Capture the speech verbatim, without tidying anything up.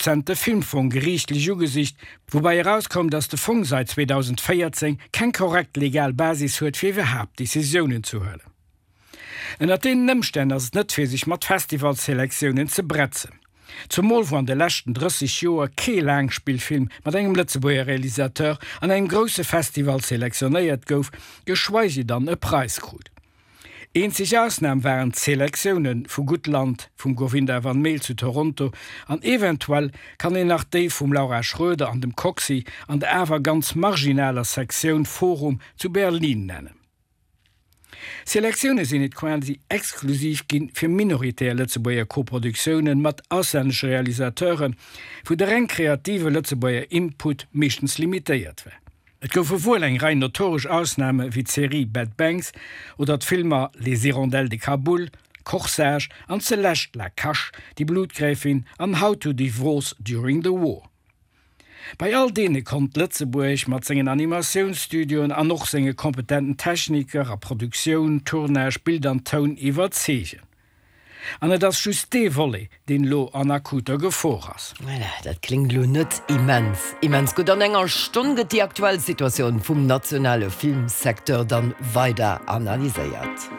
rezent de Filmfong geriichtlech ugesicht, woubäi erauskoum, datt de Fong säit zweedausendvéierzéng keng korrekt legal Basis huet fir iwwerhaapt Decisiounen ze huelen. Ënnert deenen Ëmstänn ass et net fir sech mat Festivalselektiounen ze bretzen. Zumol wou an de leschten drësseg Joer kee Laangspillfilm mat engem Lëtzebuerger Realisateur an engem grousse Festival selektionéiert gouf, geschweige dann e Präis krut. Eenzeg Ausnam waren d'Selektioune vu Guttland vum Govinda van Maele zu Toronto an eventuell kann een nach déi vum Laura Schroeder an dem Coxy an der awer ganz marginaler Sektioun Forum zu Berlin nennen. Selektioune sinn et quasi exklusiv ginn, fir minoritär Lëtzebuerger Koproduktiounen mat auslännesche Realisateuren, wou de reng kreative Lëtzebuerger Input meeschtens limitéiert war. Et goufe wuel eng Rei notoresch Ausname wéi d'Serie Bad Banks oder d'Filmer Les Hirondelles de Kaboul, Corsage an zelescht La Cache, Die Blutgräfin an How to Divorce During the War. Bei all deene konnt Lëtzebuerg mat sengen Animatiounsstudioen an och senge kompetenten Techniker a Produktioun, Tournage, Bild an Toun iwwerzeegen. An et ass just dee Volet, deen elo an akuter Gefor ass. Voilà, dat kléngt elo net immens, immens gutt. An enger Stonn gëtt déi aktuell Situatioun vum nationale Filmsecteur dann weider analyséiert.